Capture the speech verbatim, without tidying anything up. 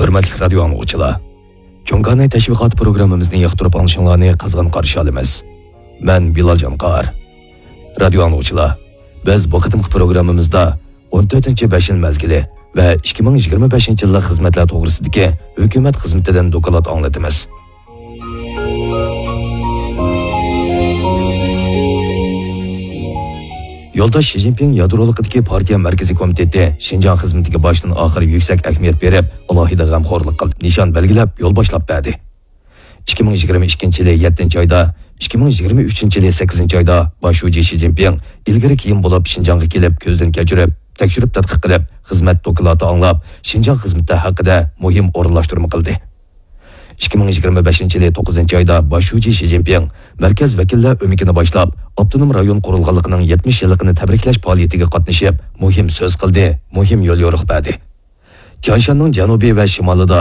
ھۆرمەتلىك رادىيو ئاڭلىغۇچىلار، چوڭ كاناي تەشۋىقات پروگراممىمىزنى ياقتۇرۇپ ئاڭلىشىڭلارنى قىزغىن قارشى ئالىمىز. مەن بىلال جانقار. رادىيو ئاڭلىغۇچىلار، بىز بۇ قېتىمقى پروگراممىمىزدا ئون تۆتىنچى بەش يىل مەزگىلى ۋە ئىككى مىڭ يىگىرمە بەشىنچى يىللىق خىزمەتلەر توغرىسىدىكى ھۆكۈمەت خىزمىتىدىن دوكلات ئاڭلىتىمىز. يولداش شى جىنپىڭ يادرولۇقىدىكى پارتىيە مەركىزىي كومىتېتى شىنجاڭ خىزمىتىگە باشتىن ئاخىر يۈكسەك ئەھمىيەت بېرىپ، ئالاھىدە غەمخورلۇق قىلدى، نىشان بەلگىلەپ، يول باشلاپ بەردى. ئىككى مىڭ يىگىرمە ئىككىنچى يىلى يەتتىنچى ئايدا، ئىككى مىڭ يىگىرمە ئۈچىنچى يىلى سەككىزىنچى ئايدا باش شۇجى شى جىنپىڭ ئىلگىرى كېيىن بولۇپ شىنجاڭغا كېلىپ، كۆزدىن كەچۈرۈپ، تەكشۈرۈپ تەتقىق قىلىپ، خىزمەت دوكلاتى ئاڭلاپ، شىنجاڭ خىزمىتى ھەققىدە مۇھىم ئورۇنلاشتۇرما قىلدى. ئىككى مىڭ يىگىرمە بەشىنچى يىلى توققۇزىنچى ئايدا باش شۇجى شى جىنپىڭ مەركەز ۋەكىللەر ئۆمىكىنى باشلاپ، ئاپتونوم رايون قۇرۇلغانلىقىنىڭ يەتمىش يىللىقىنى تەبرىكلەش پائالىيىتىگە قاتنىشىپ، مۇھىم سۆز قىلدى، مۇھىم يوليورۇق بەردى. تيەنشاننىڭ جەنۇبى ۋە شىمالىدا